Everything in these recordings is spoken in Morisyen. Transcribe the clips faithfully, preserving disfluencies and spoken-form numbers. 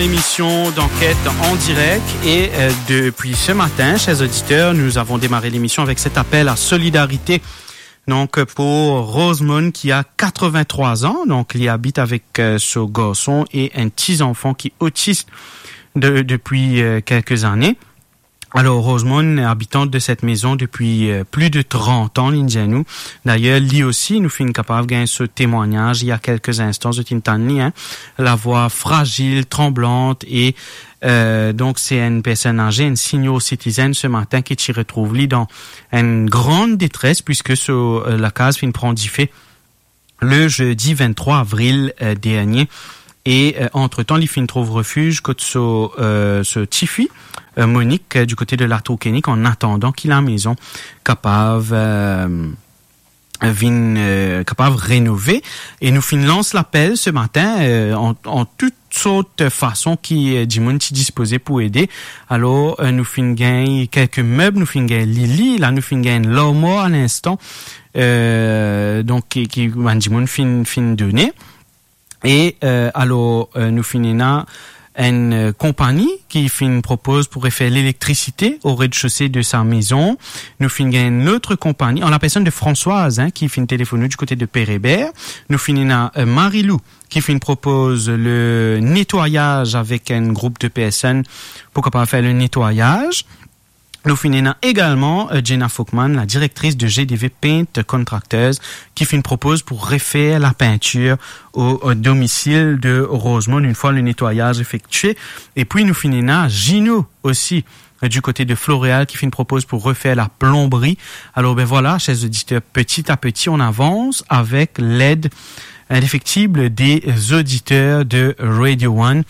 Émission d'enquête en direct et, euh, depuis ce matin, chers auditeurs, nous avons démarré l'émission avec cet appel à solidarité. Donc, euh, pour Rosemond qui a quatre-vingt-trois ans, donc il habite avec, euh, son garçon et un petit-enfant qui est autiste de- depuis, euh, quelques années. Alors, Rosemond, habitante de cette maison depuis, euh, plus de trente ans, li dir nou. D'ailleurs, li osi, nou finn kapav gagn so temwagnaz, il y a quelques instants, zot inn tann li, hein. La voix fragile, tremblante, et, euh, donc, c'est une personne âgée, une senior citizen ce matin ki ti retrouv li dan une grande détresse, puisque so, euh, lakaz finn pran dife le jeudi vingt-trois avril, euh, dernier. Et, euh, entre-temps, li finn trouv refuge kot so, euh, so tifi, euh, Monique, euh, du côté de la Tour Kenick, en attendant ki lamaison kapav, euh, vinn, euh, kapav rénové. Et nou finn lans lapel ce matin, euh, en, en toutes sortes de façons ki, euh, dimoun ti dispoze pou ede. Alors, euh, nou finn gagn quelques meubles, nou finn gagn lili, la nou finn gagn larmwar à l'instant. Euh, donc, ki, ki bann dimoun finn, finn done. Et, euh, alors, euh, nou finn ena une, euh, compagnie qui finn propoze pour refaire l'électricité au rez-de-chaussée de sa maison. Nou finn gagn une autre compagnie, en la personne de Françoise, hein, qui finn téléphone du côté de Père Hébert. Nou finn ena, euh, Marilou qui finn propoze le nettoyage avec un groupe de personnes pour kapav faire le nettoyage. Nou finn ena également, euh, Jenna Folkman, la directrice de G D V Paint Contractors, qui finn propoze pour refaire la peinture au, au domicile de Rosemond une fois le nettoyage effectué. Et puis nou finn ena Gino aussi, euh, du côté de Floréal, qui finn propoze pour refaire la plomberie. Alors, ben voilà, chers auditeurs, petit à petit, on avance avec l'aide indéfectible des auditeurs de Radio One.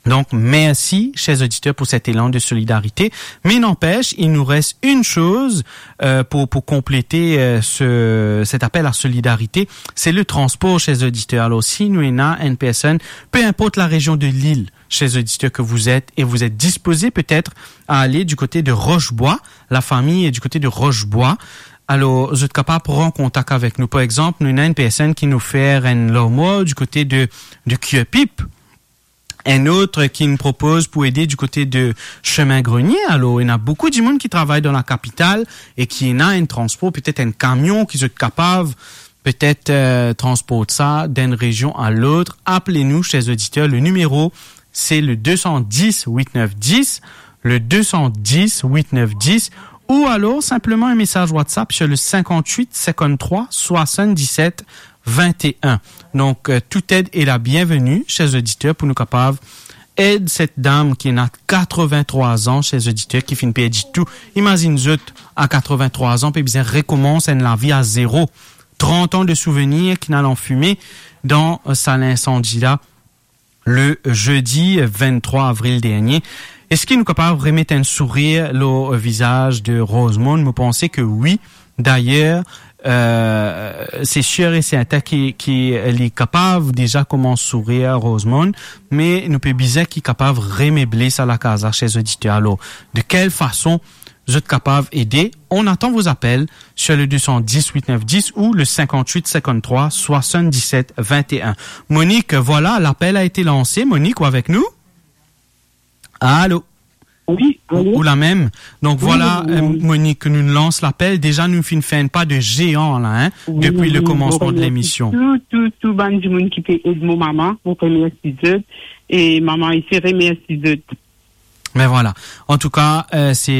Donc, merci, chers auditeurs, pour cet élan de solidarité. Mais n'empêche, il nous reste une chose, euh, pour, pour compléter, euh, ce, cet appel à solidarité, c'est le transport, chers auditeurs. Alors, si nou ena une personne, peu importe la région de l'île, chers auditeurs, que vous êtes, et vous êtes disposés peut-être à aller du côté de Roche-Bois, la famille est du côté de Roche-Bois, alors, zot kapav pran kontak avek nou. Par exemple, nou ena une personne ki finn fer enn larmwar du côté de, de Curepipe. Enn lot ki finn propoze pou ede du côté de Chemin Grenier. Alors, ena boukou dimoun ki travay dan la kapital e ki ena enn transpor, petet enn kamion ki zot kapav petet, euh, transport sa d'enn rezion a lot. Apel nou, chers auditeurs, le numéro, c'est le deux cent dix huit neuf dix, le deux cent dix huit neuf dix, ou alors simplement un message WhatsApp sur le cinquante-huit cinquante-trois soixante-dix-sept vingt et un. Donc, euh, toute aide est la bienvenue, chers auditeurs, pou nou kapav ed set dam ki ena quatre-vingt-trois an, chers auditeurs, ki finn perdi tou. Imazinn zot, a quatre-vingt-trois an, pe bizin rekomans enn lavi a zero. Trant an de souvenir ki'nn al an fime dan, euh, sa linsandi la, le jeudi vingt-trois avril dernier. Eski nou kapav remet enn sourir lor vizaz de Rosemond? Mo panse ke wi. Dayer, euh, se sir e sertin ki, ki li kapav deza koumans sourir, Rosemond, me nou pe bizin ki kapav remeble sa lakaz la, chers auditeurs. Alor, de kel fason zot kapav ede? On attend vos appels sur le deux cent dix huit neuf dix ou le cinquante-huit cinquante-trois soixante-dix-sept vingt et un. Monique, voilà, l'appel a été lancé. Monique, ou avek nou? Allô? Wi, ou, alo? Ou la mem? Donk, wi, vwala, wi, wi. Euh, Monique, nou lans lapel. Deza, nou finn fer enn pa de zean la, hein, wi, depi wi, le komansman de lemision. Mo remersi tou, tou, tou bann dimoun ki pe ed mo mama, mo remersi zot. E mama isi remersi zot. Me vwala. Antouka, euh, se,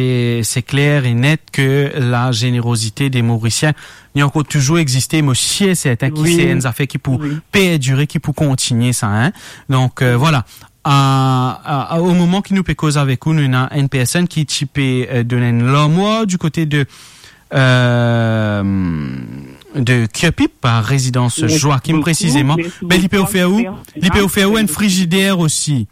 se kler e net ke la zenerozite de Morisien, li ankor touzour existe, mo sir e sertin ki, wi, se enn zafer ki pou, wi, perdire, ki pou kontigne sa, hein. Donk, euh, vwala. A, a, a, o moman ki nou pe koz avek ou, nou ena enn personn ki ti pe, euh, donn enn larmwar du kote de, euh, de Curepipe, a rezidans Joachim, mersi boukou, presizeman. Mersi boukou. Be, li pe ofer ou, li pe ofer ou enn frizider osi.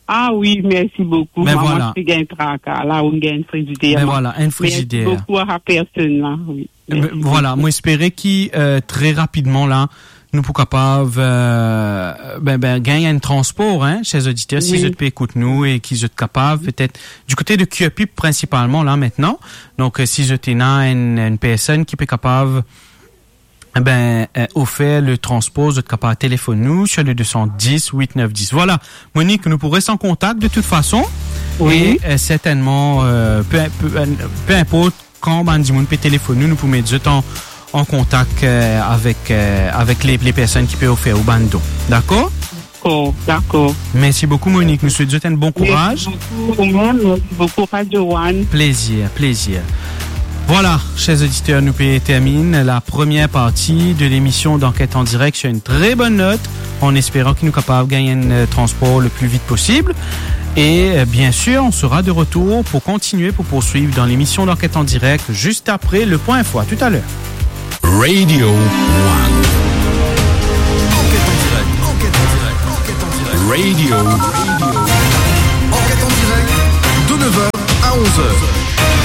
Ah wi, mersi boukou. Mama, vwala, ti gagn traka, la ou gagn enn frizider. Me vwala, enn frizider. Mersi boukou a sa personn la, wi. Mersi boukou. Vwala, mo espere ki, euh, tre rapidman la, nou pou kapav, euh, ben, ben, gagn enn transpor, hein, ser oditer, si, wi, zot pe ekout nou e ki zot kapav, petet, du kote de Curepipe prinsipalman la, aster. Donk, euh, si zot ena enn, enn personn ki pe kapav ben, euh, ofer le transpor, zot kapav telefonn nou sur le deux cent dix, huit neuf dix. Voilà, Monique, nou pou res an kontak de tout fason. Wi. E, euh, sertennman, euh, pe, pe, euh, pe inport kan bann dimoun pe telefonn nou, nou pou met zot an, an kontak, euh, avek, euh, avek le, le personn ki pe ofer ou bann don. Dakor? Dakor, dakor. Mersi boukou, Monique. Nou swet zot enn bon kouraz. Mersi boukou, ou mem. Mersi boukou, Radio One. Plezir, plezir. Voilà, chers auditeurs, nou pe terminn la première partie de l'émission d'Enquête en direct sur une très bonne note, en espérant ki nou kapav gagn enn, euh, transpor le plus vite possible. Et, euh, bien sûr, on sera de retour pour continuer, pour poursuivre dans l'émission d'Enquête en direct, juste après le point info. À tout à l'heure. Radio One. Enquête en direct, enquête en direct, enquête en direct. Radio. Enquête en direct, de neuf heures à onze heures.